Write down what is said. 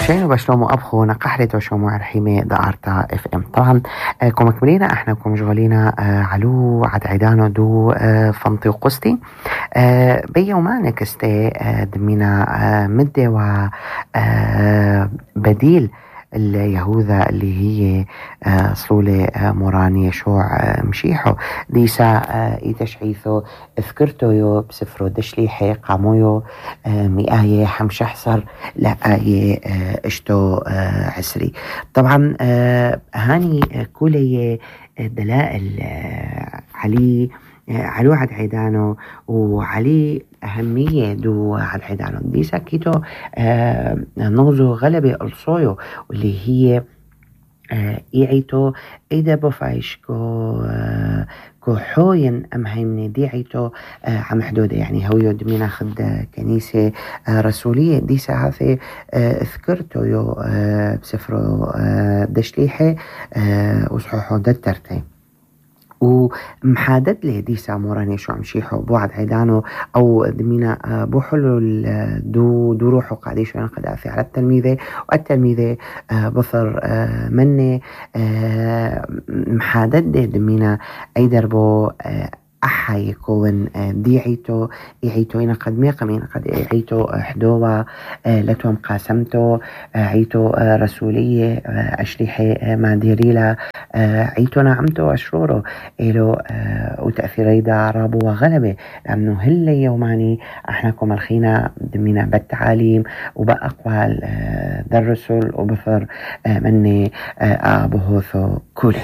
شينو بشلومو أبخو نقحرتو شومو عرحيمي دقارتا اف ام. طبعا كو مكملينا احنا كو مشغولينا علو عد عيدانو دو فنطي وقستي بيوما كستي دمينا مدة و بديل اليهوذا اللي هي صولة موراني يشوع مشيحو ديسا إيتشعيثو اذكرتو يو بسفرو دشليحي قامويو مئاية حمشحصر لآية اشتو عسري. طبعا هاني كولي دلائل علي علو عد عيدانو وعلي أهمية دو عد عيدانو ديسا كيتو نغزو غلبة الصويو واللي هي إيعيتو إيدا بفايش كو حوين أم هيمني ديعيتو عم حدودة يعني هويو دمينا خد كنيسة رسولية ديسا هاثي اذكرتو يو بسفرو دشليحي وصحوحو دترتي ومحادد لي ديسا موراني شو عمشيحو بوعد عيدانو أو دمينا بوحلو دو روحو قاديشو ينقدع في على التلميذة والتلميذة بصر مني محادد لي دمينا أي دربو أحا يكون ديعيتو إيعيتو إنا قد ميقمين قد إيعيتو حدوة لتوم قاسمتو عيتو رسولية أشريحي ما ديريلا عيتو نعمتو أشرورو إلو وتأثيري دا رابو وغلبة لأنه هل يوماني احنا كو ملخينا دمينا بالتعاليم وبأقوال دا الرسل وبثر مني أبوهوثو كولي.